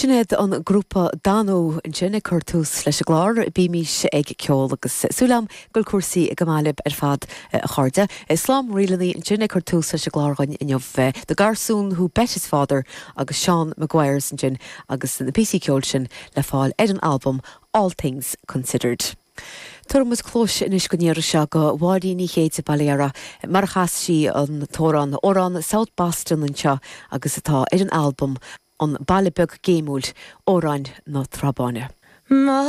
Sin iad an grúpa Danú ansin ag cur tús leis an gclár Bímís ag Ceol agus súil agam go bhfuil cúrsaí go maith libh ar fad a chairde. Slám ríleanna ansin ag cur tús leis an gclár againn inniu. The Garsún Who Bet His Father agus Seán Maguires ansin agus na píosaí ceoil sin le fáil ar an albam All Things Considered. Tabharfaidh muid cluais anois don iarraidh seo do Mháirín Ní Chéide, Baile Dara, mar a chas sí an t-amhrán, amhrán South Boston anseo agus atá ar an albam An Baile Beag Géimiúil, Amhráin na Trá Báine.